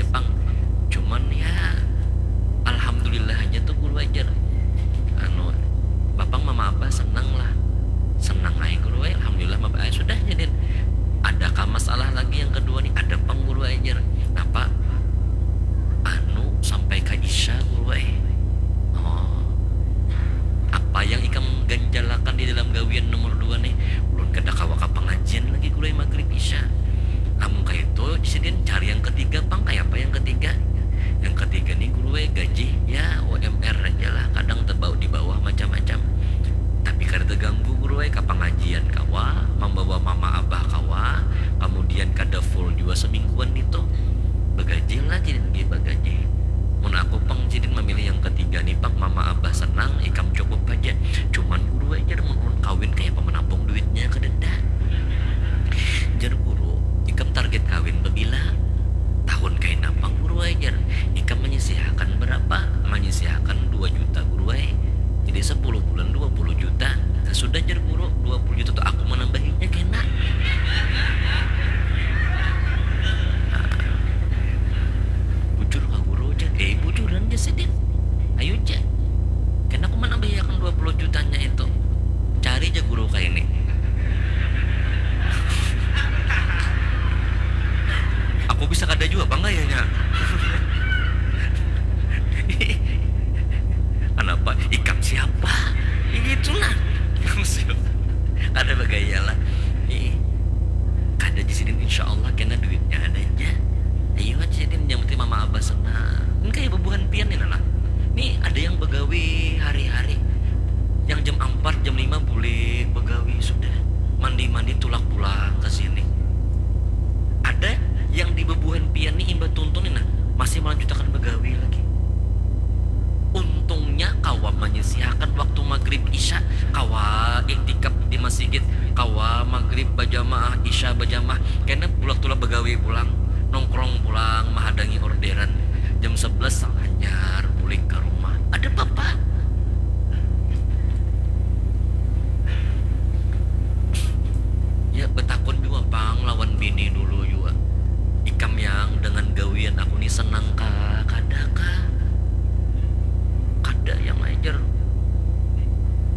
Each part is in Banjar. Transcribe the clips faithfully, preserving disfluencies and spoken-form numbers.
Pang, cuman ya alhamdulillah aja tuh guru ajar. Anu, bapang mama abah senang lah. Senang aja guru, eh, alhamdulillah mama abah, eh, sudah jadian. Adakah masalah lagi yang kedua nih? Ada pang guru ajar. Napa? Anu, sampai ke isya guru, eh. Oh, apa yang ikam ganjalakan di dalam gawian nomor dua nih? Ulun kada kawa ka pengajian lagi guru, eh, maghrib isya. Lamun kaya itu, sidin cari yang ketiga pang. Kaya apa yang ketiga? Yang ketiga nih guru, eh, gaji ya U M R aja lah, kadang tebau di bawah macam-macam. Tapi kada terganggu guru, eh, ka pengajian kawa, membawa mama abah kawa, kemudian kada full juga semingguan itu. Begaji lah sidin, bagaji. Mun aku pang sidin memilih yang ketiga nih pang, mama abah senang, ikam cukup aja. Cuman guru ajar, mun ulun kawin kaya apa menampung duitnya, kadeda. Jar guru, ikam target kawin bebila? Tahun kaina pang guru ai jar. Ikam menyisihakan berapa? Menyisihakan dua juta guru ai. Jadi sepuluh bulan dua puluh juta. Nah, sudah jar guru, dua puluh juta tu aku menambahinya kena. Nah, bujur ka guru jar. Eh, bujuran jar sidin. Ayu jar. Kena aku menambahiakan dua puluh jutanya itu. Cari aja guru kayak ini. Aku bisa kada juga bang kayaknya. Kenapa? Ikam siapa? Itulah. Ikam siapa? Kada bergaya lah. Ih, kada di sini insya Allah kena duitnya ada aja. Ayo aja ini yang penting mama abah senang. Ini kayak bebuhan pian ini lah. Nih ada yang begawi hari-hari. Yang jam empat, jam lima boleh begawi sudah. Mandi-mandi tulak pulang ke sini. Ada yang di bebuhan pian nih imbah tuntun nih nah, masih melanjutakan begawi lagi. Untungnya kawa menyisihakan waktu maghrib isya, kawa iktikaf di masjid, kawa maghrib bajamaah, isya bajamaah, kena bulak tulak begawi pulang, nongkrong pulang, mahadangi orderan. Jam sebelas sanganyar bulik ke rumah. Ada papa. Ya betakun juga pang lawan bini dulu juga. Ikam yang dengan gawian aku nih senang kah? Kada kah? Kada yang ajar.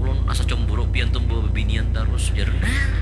Ulun asa cemburu pian tuh bawa bebinian terus jar. Nah,